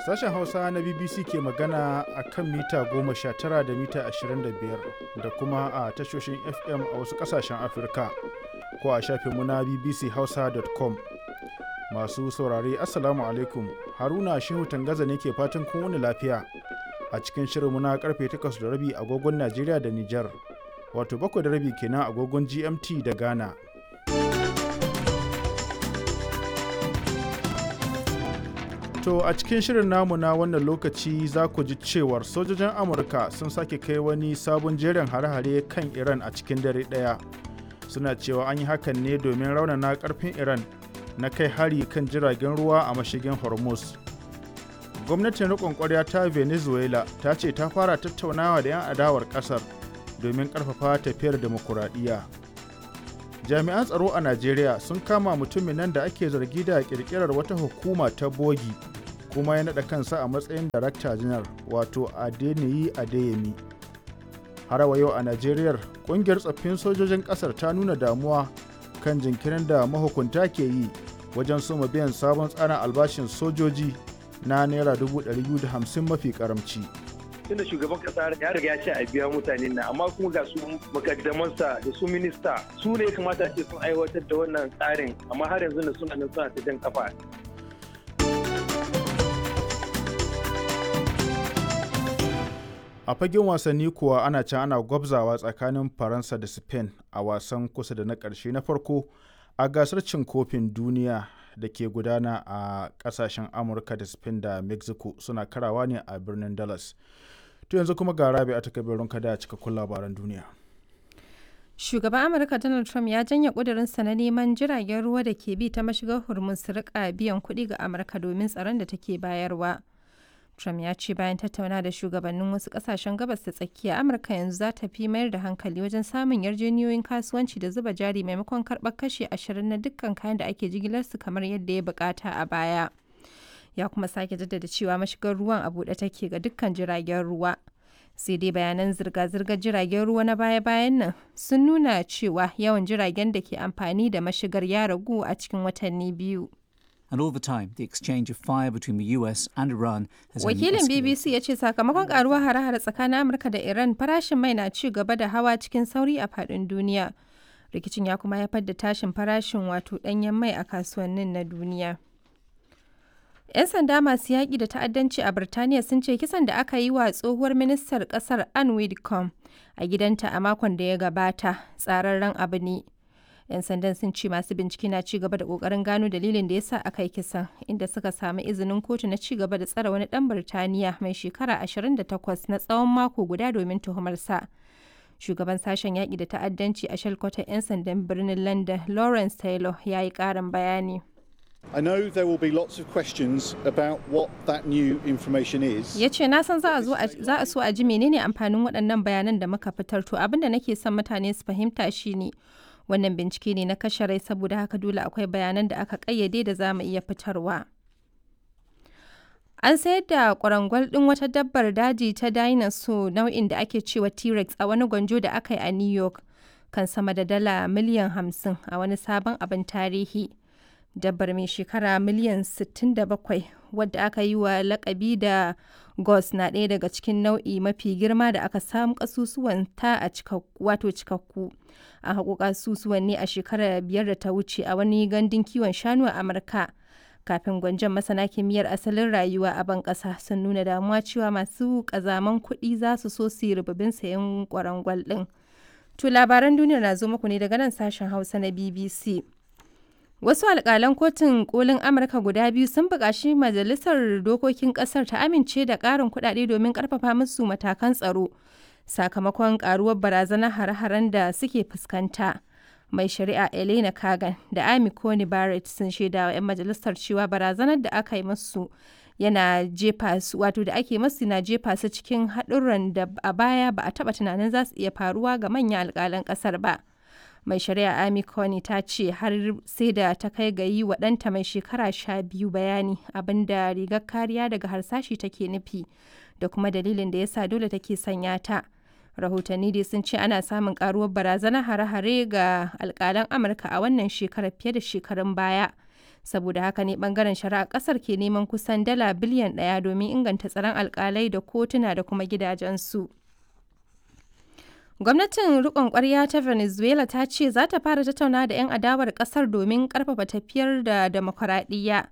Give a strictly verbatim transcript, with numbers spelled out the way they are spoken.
Sashen Hausa na B B C ke magana a kan mita goma sha tara da mita ashirin da biyar da kuma a tashoshin F M a wasu ƙasashen Afirka ko a shafinmu na B B C Hausa dot com. Masu saurare, Assalamu alaikum. Haruna Shehu Tangaza ne ke fatan kun wuni lafiya a cikin shirinmu na karfe takwas da rabi agogon Najeriya da Nijar, wato bakwai da rabi kenan agogon G M T da Ghana. To a cikin shirin namu na wannan lokaci za ku ji cewar sojojin Amurka sun sake kai wani sabon jerin hare-hare kan Iran a cikin dare ɗaya. Suna cewa an yi hakan ne domin raunana ƙarfin Iran na kai hari kan jiragen ruwa a mashigin Hormuz. Gwamnatin riƙon ƙwarya ta Venezuela ta ce ta fara tattaunawa da 'yan adawar ƙasar domin ƙarfafa tafiyar demokuraɗiyya. Jami'an tsaro a Najeriya sun kama mutumin nan da ake zargi da ƙirƙirar wata hukuma ta bogi kuma ya naɗa kansa a matsayin darakta janar, wato Adeniyi Adeyemi. Har wa yau a Najeriya, ƙungiyar tsaffin sojojin ƙasar ta nuna damuwa kan jinkirin da mahukunta ke yi wajen soma biyan sabon tsarin albashin sojoji na naira dubu ɗari biyu da hamsin mafi karamci. Tunda shugaban kasa ya riga ya ce a biya mutane na, amma kuma ga su makaddamansa da su minista, su ne ya kamata ce sun aiwatar da wannan tsarin, amma har yanzu na suna nan suna ta jan kafa. A fagen wasanni kuwa, ana can ana gwabzawa tsakanin Faransa da Spain a wasan kusa da na ƙarshe na farko a gasar cin kofin duniya da ke gudana a ƙasashen Amurka da Spain da Mexico, suna karawa ne a birnin Dallas. To yanzu kuma ga Rabi a takabirin kada cikakkun labaran duniya. Shugaban Amurka Donald Trump ya janye ƙudurinsa na neman jiragen ruwa da ke bi ta mashigar Hormuz su rika biyan kuɗi ga Amurka domin tsaron da take bayarwa. Trump ya ce bayan tattauna da shugabannin wasu kasashen Gabas ta Tsakiya, Amurka yanzu za ta fi mayar da hankali wajen samun yarjejeniyoyin kasuwanci da zuba jari maimakon karɓar kashi ashirin na dukkan kayan da ake jigilarsu kamar yadda ya bukata a baya. Ya kuma sake jaddada cewa mashigar ruwan a buɗe take ga dukkan jiragen ruwa. Sai dai bayanan zirga-zirgar jiragen ruwa na baya-bayan nan sun nuna cewa yawan jiragen da ke amfani da mashigar ya ragu a cikin watanni biyu. And all the time, the exchange of fire between the U S and Iran has only Wakilin escalated. B B C ya ce sakamakon karuwar hare-hare tsakanin Amurka da Iran, farashin mai na ci gaba da hawa cikin sauri a faɗin duniya. Rikicin ya kuma haifar da tashin farashin wato ɗanyen mai a kasuwannin na duniya. 'Yan sanda masu yaƙi da ta'addanci a Birtaniya sun ce kisan da aka yi wa tsohuwar ministar ƙasar Anne Widdecombe a gidanta a makon da ya gabata tsararren abu ne. 'Yan sandan sun ce masu bincike na ci gaba da kokarin gano dalilin da ya sa aka yi kisan, inda suka samu izinin kotu na ci gaba da tsare wani dan Birtaniya mai shekara ashirin da takwas na tsawon mako guda domin tuhumarsa. Shugaban sashen yaƙi da ta'addanci a shalkwatar 'yan sandan birnin London, Lawrence Taylor, ya yi ƙarin bayani. I know there will be lots of questions about what that new information is. Ya ce na san za a zo a- za a so a ji menene amfanin waɗannan bayanan da muka fitar. To abin da nake son mutane su fahimta shine wannan bincike ne na kashe rai, saboda haka dole akwai bayanan da aka kayyade da za mu iya fitarwa. An sayar da kwarangwal ɗin wata dabbar daji ta dinosaur nau'in da ake cewa T-Rex a wani gwanjo da aka yi a New York kan sama da dala miliyan hamsin a wani sabon abin tarihi. Dabbar mai shekara miliyan sittin da bakwai, wadda aka yi wa lakabi da Gos, na ɗaya daga cikin nau'i mafi girma da aka samu kasusuwan ta a wato cikakku. An haƙo kasusuwan ne a shekarar biyar da ta wuce a wani gandun kiwon shanu a Amurka. Kafin gwanjon, masana kimiyyar asalin rayuwa a ban ƙasa sun nuna damuwa cewa masu ƙazaman kuɗi za su so su yi rububin sayen kwarangwal ɗin. To labaran duniyar na zo muku ne daga nan sashen Hausa na B B C. Wasu alƙalan Kotun Kolin Amurka guda biyu sun buƙaci Majalisar Dokokin ƙasar ta amince da ƙarin kuɗaɗe domin ƙarfafa musu matakan tsaro sakamakon ƙaruwar barazanar hare-haren da suke fuskanta. Mai Shari'a Elena Kagan da Amy Coney Barrett sun shaida wa 'yan majalisar cewa barazanar da aka yi musu yana jefa su, wato da ake masu, na jefa su cikin haɗurran da a baya ba a taɓa tunanin za su iya faruwa ga manyan alƙalan ƙasar ba. Mai Shari'a Amy Coney ta ce har sai da ta kai ga yi wa ɗanta mai shekara sha biyu bayani abinda rigar kariya daga harsashi take nufi da kuma dalilin da yasa dole take sanya ta. Rahotanni dai sun ce ana samun karuwar barazanar hare-hare ga alkalan Amurka a wannan shekarar fiye da shekarun baya. Saboda haka ne bangaren shari'a kasar ke neman kusan dala biliyan ɗaya domin inganta tsaron alkalai da kotuna da kuma gidajensu. Gwamnatin rikon kwarya ta Venezuela ta ce za ta fara tattauna da 'yan adawar kasar domin karfafa tafiyar da demokuraɗiyya.